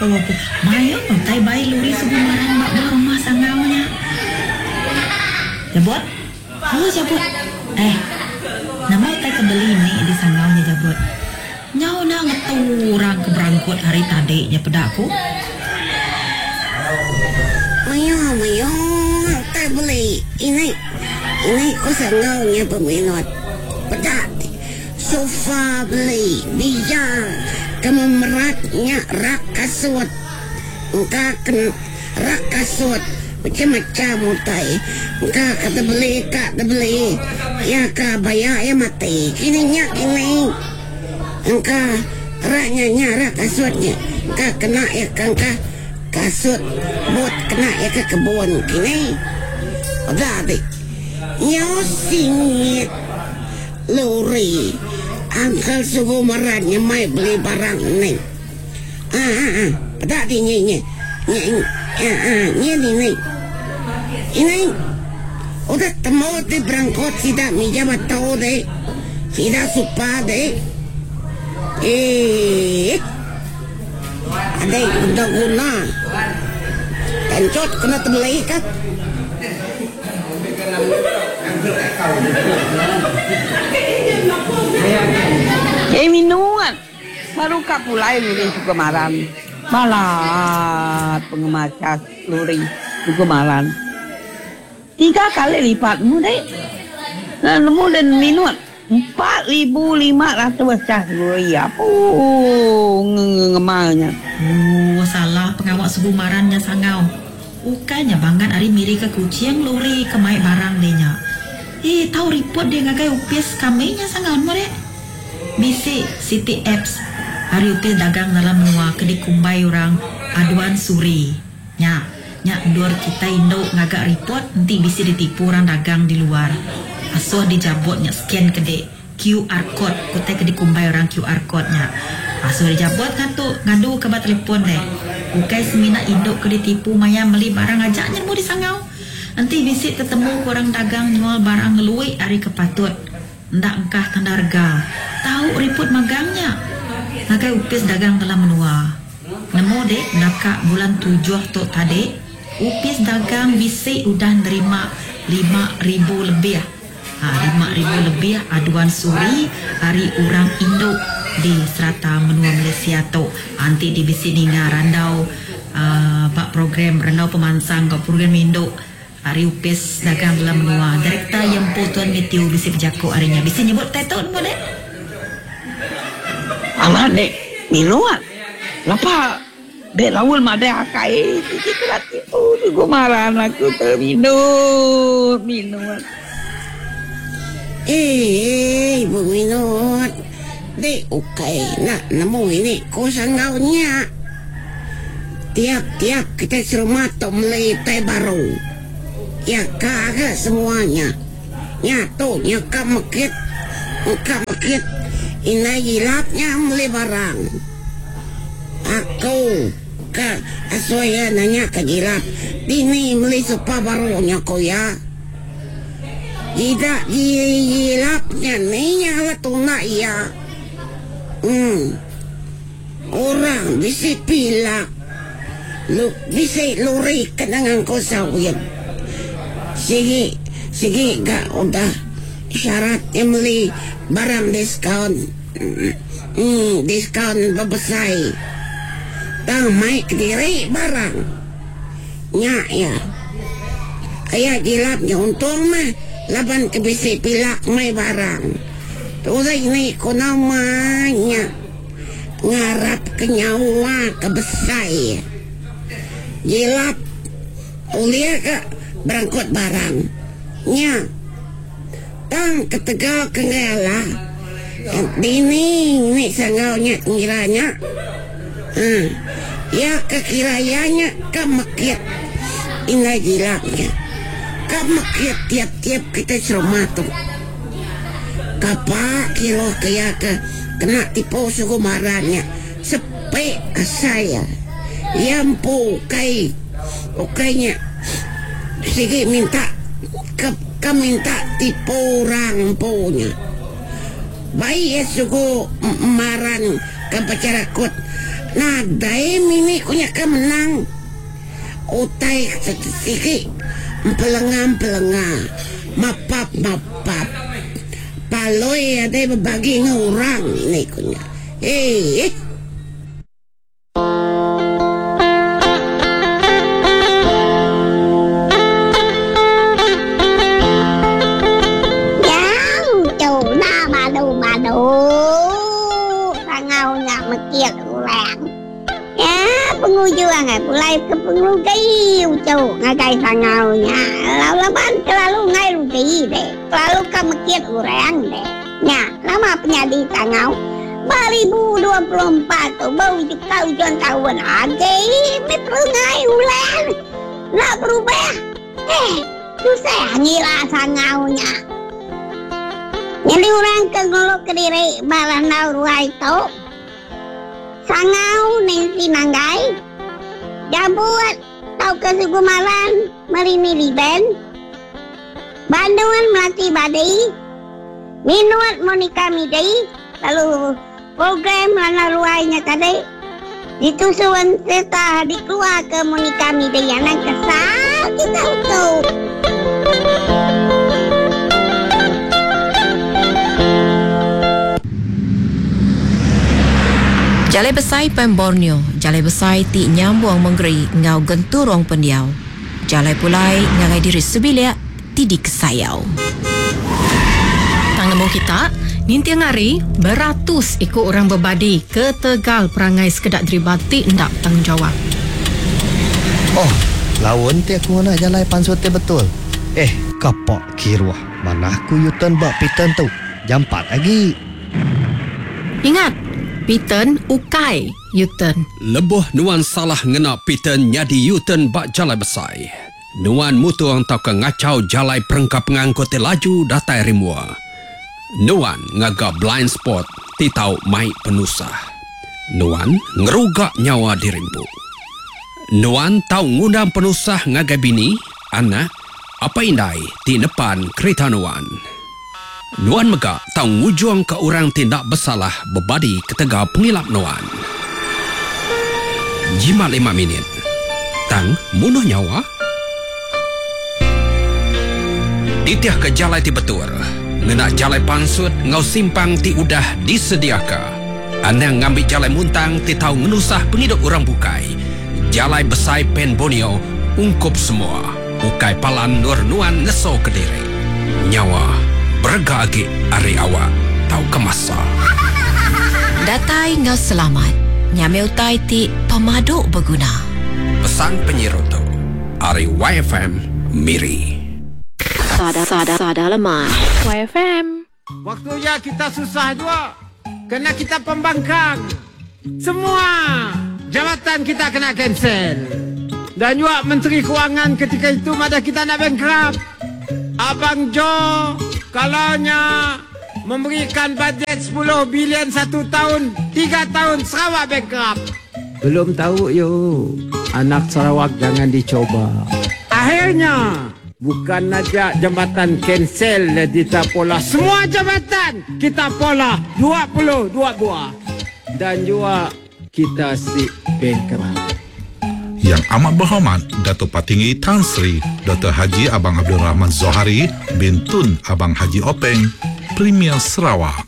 Apu apu. Mayuh utai bai luri sugu maran ba buah rumah sangau nya. Jabut. Oh Jabut. Eh. Nama utai ke beli ni di sangau nya Jabut. Nyau enda ngetu orang ke berangkut hari tadi nya peda ku. Mayuh mayuh utai beli ini. Ini ku sangau nya peminut. Peda sofa beli bija ke memerat nya rak kasut. Engka ke rak kasut macam-macam utai. Engka ke tebeli ka tebeli iya ka baya iya mati. Kini nya kini. Engka rak nya nya rak kasut nya. Engka kena iya ke engka kasut but kena iya ke kebun kini. Peda ti nyau singit lori Uncle Sugu Meran nyemai beli barang ni. Aa peda ti nyi nyi nyi aa nyi ni ni. Ini udah temu ti berangkut sida mija batu ti sida supa ti. Eeh adai udah guna tanchut kena tebeli ka. Ei minut baru ka pulai luri suka maran. Balat pengemacha luri suka maran. Tiga kali lipat mu deh. Nemu deh minut 4500 cas luri apu ngemar nya. Ooh salah pengawa sugu maran nya sangau. Ukai nya bangat ari miri ke Kuching luri ke mai barang deh nya. Ii tau report deh ngagai opis kami nya sangau nemu deh. Bisi siti apps ari opis dagang dalam menua ke dikumbai orang Aduan Suri. Nya, nya endur kitai indu ngaga report enti bisi ditipu orang dagang di luar. Asuh dijabut nya scan ke dik QR code ku tai ke dikumbai orang QR code nya. Asuh dijabut ngatu ngadu ke ba telefon deh. Ukai semina indu ke ditipu maya meli barang aja nya nemu disangau. Enti bisi tetemu ke orang dagang nyual barang ngelui ari ke patut enda engkah tanda rega, tau riput magang nya ngagai opis dagang dalam menua. Nemu dek naka bulan tujuh tu tadi, opis dagang bisi udah nerima 5000 lebih ha 5000 lebih aduan suri ari orang indu di serata menua Malaysia tu. Ha enti di bisi ninga randau aaa ba program randau pemansang enggau program indu ari opis dagang dalam menua, Direktor iya empu Tuan Mathew bisi bejaku ari nya. Bisi nyebut utai tu nemu dek? Amat dek minut. Lapa dek laun madah akai sigi kena tipu tu maran aku tu minut minut. Eii ibu minut dek ukai enda nemu ini ku sanggau nya. Tiap tiap kitai serumah tu meli utai baru. Iya ka ga semua nya. Nya tu nya ka mekit engka mekit indai gilap nya meli barang. Aku ka asuh iya nanya ka gilap dini meli sofa baru nya ku iya. Gida gilap nya ni nya ala tunda iya. Em. Orang bisi pila lu bisi luri kena ngangkut sawit. Sigi sigi ga udah syarat nya meli barang diskaun emm diskaun bebesai tang mai kediri barang nya iya. Aya jilap nya untung mah laban ke bisi pila mai barang. Turai ni ku nama nya. Ngarap ke nyawa ke besai. Jilap ulih ga berangkut barang nya. Tang ketegal ke enggai alah, dini ni sanggau nya ngira nya. Haa iya ke kira iya nya ka mekit indai jilap nya. Ka mekit tiap-tiap kitai serumah tu. Kapa kiroh ke iya ke kena tipu sugu maran nya sepi asai iya. Iya empu ukai ukai nya sigi minta ke ke minta tipu orang empu nya. Bai iya sugu maran ke becharakut. Nadai mini ku nya ke menang. Utai sigi empelenga-empelenga, mapap-mapap. Paloi adai bebagi enggau orang ni ku nya. Eeh. Nyau tu enda badu-badu sangau nya mekit orang. Nya pengujung ai pulai ke pengerugi uchu ngagai sangau nya lalu laban kelalu enggai rugi deh kelalu ka mekit orang deh. Nya nama penyadi sangau 2024 tu ba ka ujung taun agi meh perengai ulang enda berubah. Eh tusah ngira sangau nya. Nyadi orang ke ngulu kediri ba randau ruai tu. Sangau Nancy Manggai, Jabut tauka Sugu Malan Merini Liben, Bandun Melati Badi, Minut Monica Midi lalu program Lana Ruai nya tadi ditusun sereta dikeluarka Monica Midi anang kesal kita utu. Jalai Besai Pan Borneo, jalai besai ti nyambung mengeri enggau genturung pendiau. Jalai pulai ngagai diri sebilik ti dikesayau. Tang nemu kita, ninting hari beratus iku orang bebadi ketegal perangai sekeda deriba ti enda betanggungjawap. Oh, laun ti aku ngena jalai pansut ti betul. Eh, kapak kiruh manah ku U-turn ba P-turn tu. Jampat agi. Ingat, P-turn ukai U-turn. Lebuh nuan salah ngena P-turn nyadi U-turn ba jalai besai, nuan mutung tauka ngachau jalai perengka pengangkut ti laju datai ari mua. Nuan ngaga blind spot ti tau mai penusah. Nuan ngeruga nyawa diri empu. Nuan tau ngundang penusah ngagai bini, anak, apai indai ti nepan kerita nuan. Nuan mega tau ngujungka orang ti enda besalah bebadi ketegal pengilap nuan. Jimat lima minit, tang munuh nyawa? Titihka jalai ti betul, ngena jalai pansut enggau simpang ti udah disediaka. Anang ngambi jalai muntang ti tau ngenusah pengidup orang bukai. Jalai Besai Pan Borneo ungkup semua. Ukai palan endur nuan ngeso kediri. Nyawa berega agi ari awak tauka masa. Datai enggau selamat nya meh utai ti pemadu beguna. Pesan penyiru tu ari YFM Miri. Sada sada sada lemai. YFM. Waktu ya kita susah jua kena kita pembangkang. Semua jawatan kita kena cancel. Dan juga Menteri Kewangan ketika itu madah kita nak bankrupt. Abang Jo kalau nya memberikan bajet 10 bilion satu tahun, 3 tahun Sarawak bankrupt. Belum tahu yo, anak Sarawak jangan dicoba. Akhirnya bukan aja jambatan cancel kita pola, semua jambatan kita pola 22 buah. Dan juga kita si bankrupt. Yang Amat Berhormat Dato' Patinggi Tan Sri Doktor Haji Abang Abdul Rahman Zohari bin Tun Abang Haji Openg, Premier Sarawak.